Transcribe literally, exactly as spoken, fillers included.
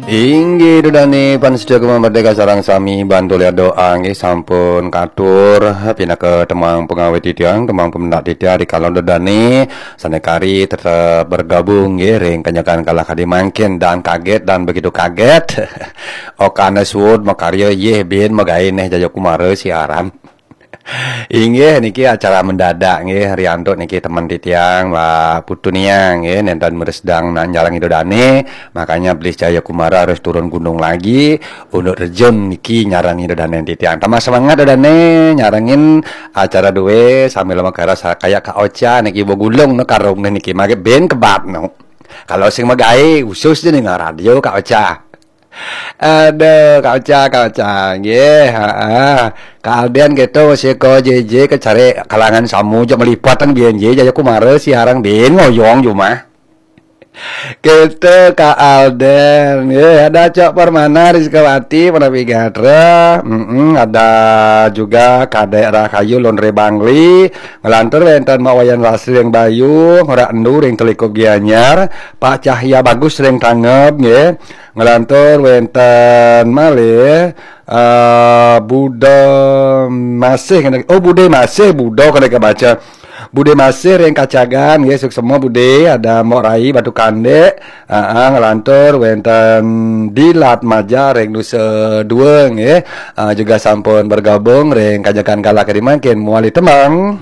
Inggih, Ida Dane pamiarsa Gema Merdeka sareng sami bantu lihat doa nggih, sampun katur pinaka tembang pengawit titiang, tembang pemendak titiang rikala Ida Dane sane kari tetep bergabung nggih ring kanyakan kala kadi mangkin, dan kaget dan begitu kaget. Okana suud makarya, yeh bin magae neh Jaya Kumara siaran. Inggih, niki acara mendadak nggih, riantuk niki temen titiang, Mbak Putu Niang nggih, nenten mresidang nak nyarengin Ida Dane, makanya Blis Jaya Kumara harus turun gunung lagi untuk terjun niki nyarengin Ida Dane titiang. Tambah semangat Ida Dane nyarengin acara due sambil makara sa-, kayak Kak Ocha niki begulung no karung niki, mage ben kebat no. Kalau sing magae khusus je dengan radio Kak Ocha. Aduh, Kak Ocha, Kak Ocha. Nggih, heeh. Kak Alden keto masih ko J J kecari kalangan samu jok melipat tan biyen je Jaya Kumara siaran bin ngoyong jumah. Keto Kak Alden, nggih, ada Cok Permana, Rizkawati, Panapi Gatra, mm ada juga Kadek Rahayu, Londre Bangli, ngelantur wenten Mak Wayan Lasri yang Bayu, Ngora Endu ring Telikup Gianyar, Pak Cahya Bagus ring Tangeb, nggih. Ngelantur wenten malih, eh, Buda Masih kena, oh, Bude Masih, Buda kena kebaca. Bude Masih ring Kacagan, nggih, suksema Bude, ada Mbok Rai Batu Kandek, ah, ah, ngelantur wenten Dilat Maja ring Nusa Dua, nggih. Ah, juga sampun bergabung ring kanyakan kala kadi mangkin mawali tembang.